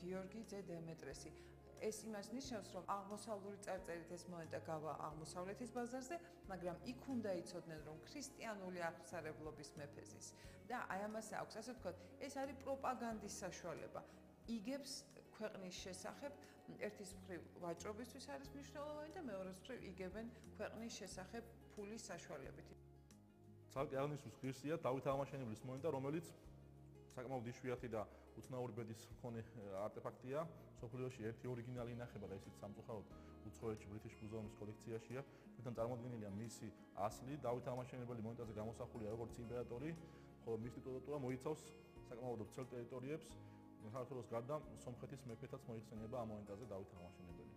გიორგი ძე დემეტრესი. ეს იმას ნიშნავს, რომ აღმოსავლური წარწერით ეს მონეტა გავა აღმოსავლეთის ბაზარზე, მაგრამ იქ უნდა იცოდნენ, რომ ქრისტიანული აღმსარებლობის მეფეზის და აი ამას აქვს, ასე ვთქვათ, ეს არის პროპაგანდის საშუალება. იგებს ქვეყნის შესახებ ერთის მხრივ ვაჭრობისთვის არის მნიშვნელოვანი და მეორეს მხრივ იგებენ ქვეყნის შესახებ ფულის საშუალებით. ცალკე აღნიშნულ ღირსია დავით აღმაშენებლის მონეტა, რომელიც საკმაოდ იშვიათი და უცნაური ბედის მქონე არტეფაქტია. სოფლიოში ერთი ორიგინალი ინახება და ისიც სამწუხაროდ უცხოეთში ბრიტიშ მუზეუმის კოლექციაში. ჩვენთან წარმოდგენილია მისი ასლი, დავით აღმაშენებელი მონეტაზე გამოსახულია როგორც იმპერატორი, ხოლო მისი ტიტულატურა მოიცავს საკმაოდ ვრცელ ტერიტორიებს. საქართველოს გარდა სომხეთის მეფეთაც მოიხსენიება ამ მონეტაზე დავით აღმაშენებელი.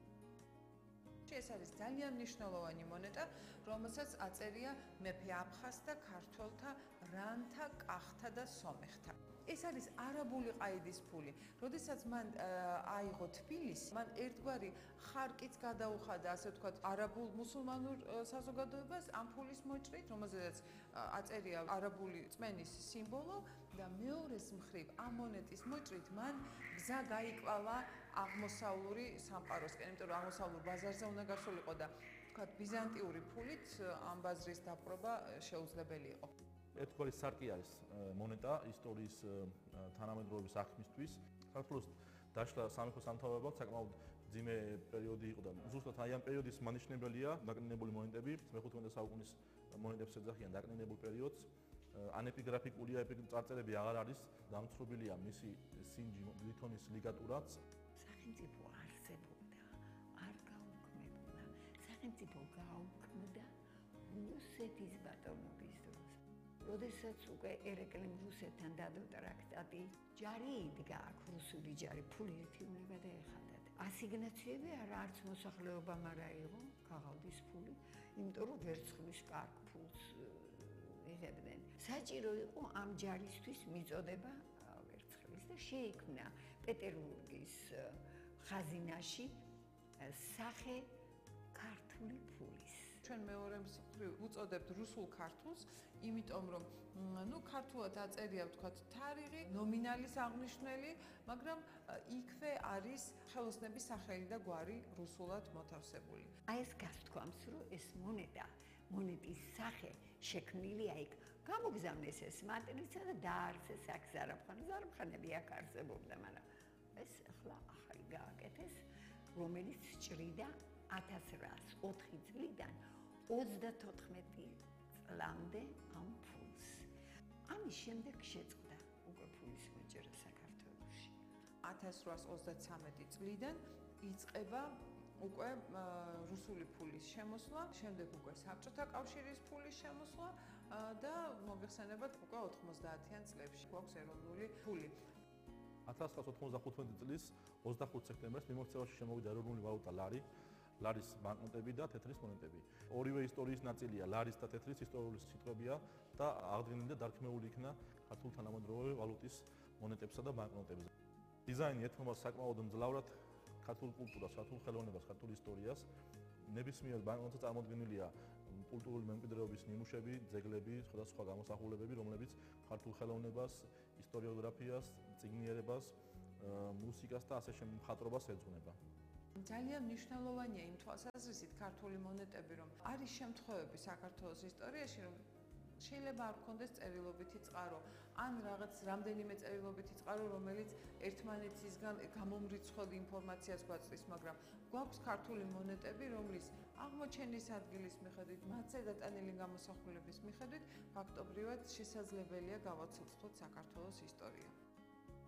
ეს არის ძალიან მნიშვნელოვანი მონეტა, რომელსაც აწერია მეფე აფხაზთა, ქართველთა, რანთა, კახთა და სომეხთა. ეს არის არაბული ყაიდის ფული. როდესაც მან აიღო თბილისი, მან ერთგვარი ხარკიც გადაუხადა, ასე ვთქვათ, არაბულ მუსულმანურ საზოგადოებას ამ ფულის მოჭრით, რომელზედაც აწერია არაბული წმენის სიმბოლო და მეორეს მხრივ ამ მონეტის მოჭრით მან გზა გაიკვალა აღმოსავლური სამყაროსკენ, იმიტომ რომ აღმოსავლურ ბაზარზე უნდა გასულიყო და ვთქვათ, ბიზანტიური ფულით ამ ბაზრის დაპყრობა შეუძლებელი იყო. ერთგვარი სარკი არის მონეტა ისტორიის თანამედროვეობის აღქმისთვის. საქართველოს დაშლა სამეფო სამთავრობოდ საკმაოდ ძიმე პერიოდი იყო და ზუსტად აი ამ პერიოდის მანიშნებელია დაკნინებული მონეტები. მე-15 საუკუნის მონეტებს ეძახიან დაკნინებულ პერიოდს. ანეპიგრაფიკულია წარწერები აღარ არის, დამცრობილია მისი სინჯი ლითონის ლიგატურაც. სახელმწიფო არსებობდა, არ გაუქმებულა. სახელმწიფო გაუქმდა რუსეთის ბატონობის დროს. როდესაც უკვე ერეკლემ რუსეთთან დადო ტრაქტატი, ჯარი იდგა აქ რუსული ჯარი, ფული ერთი უნდა დაეხადათ. ასიგნაციები არც მოსახლეობამ არ აიღო, გაღავდის ფული, იმიტომ რომ ვერცხლის კარგ ფულს იღებდნენ. საჭირო იყო ამ ჯარისთვის მიწოდება ვერცხლის და შეიქმნა პეტერბურგის ხაზინაში სახე ქართული ფულის. ჩვენ მეორე მხრივ უწოდებთ რუსულ ქართულს, იმიტომ რომ ქართულად აწერია ვთქვათ თარიღი, ნომინალის აღნიშვნელი, მაგრამ იქვე არის ხელოსნების სახელი და გვარი რუსულად მოთავსებული. აი ეს გასთქვამს, რომ ეს მონეტის სახე შექმნილია იქ. გამოგზავნეს ეს მატრიცა და დაარსეს აქ ზარაფხანი. ზარაფხანები აქ არსებობდა, მაგრამ ეს ახლა ახალი გააკეთეს, რომელიც ჭრიდა 1804 წლიდან 34 წლამდე ამ ფულს. ამის შემდეგ შეწყდა უკვე ფულის მოჭრა საქართველოში. 1833 წლიდან იწყება უკვე რუსული ფულის შემოსვლა, შემდეგ უკვე საბჭოთა კავშირის ფულის შემოსვლა და მოგეხსენებათ უკვე 90-იან წლებში გვაქვს ეროვნული ფული. 1995 წლის 25 სექტემბერს მიმოქცევაში შემოვიდა ეროვნული ვალუტა ლარი. ლარის ბანკნოტები და თეთრის მონეტები. ორივე ისტორიის ნაწილია, ლარის და თეთრის ისტორიული სიტყვებია და აღდგენილი და დარქმეული იქნა ქართულ თანამედროვე ვალუტის მონეტებსა და ბანკნოტებზე. დიზაინი ეთმობა საკმაოდ მძლავრად ქართულ კულტურას, ქართულ ხელოვნებას, ქართულ ისტორიას. ნებისმიერ ბანკნოტზე წარმოდგენილია კულტურული მემკვიდრეობის ნიმუშები, ძეგლები, სხვადასხვა გამოსახულებები, რომლებიც ქართულ ხელოვნებას, ისტორიოგრაფიას, წიგნიერებას, მუსიკას და ასე შემდეგ მხატვრობას ეძღვნება. ძალიან მნიშვნელოვანია იმ თვალსაზრისით ქართული მონეტები, რომ არის შემთხვევები საქართველოს ისტორიაში, რომ შეიძლება არ გქონდეს წერილობითი წყარო, ან რაღაც რამდენიმე წერილობითი წყარო, რომელიც ერთმანეთისგან გამომრიცხვლ ინფორმაციას გვაწვდის, მაგრამ გვაქვს ქართული მონეტები, რომლის აღმოჩენის ადგილის მიხედვით, მათზე დატანილი გამოსახულების მიხედვით, ფაქტობრივად შესაძლებელია გავაცოცხლოთ საქართველოს ისტორია.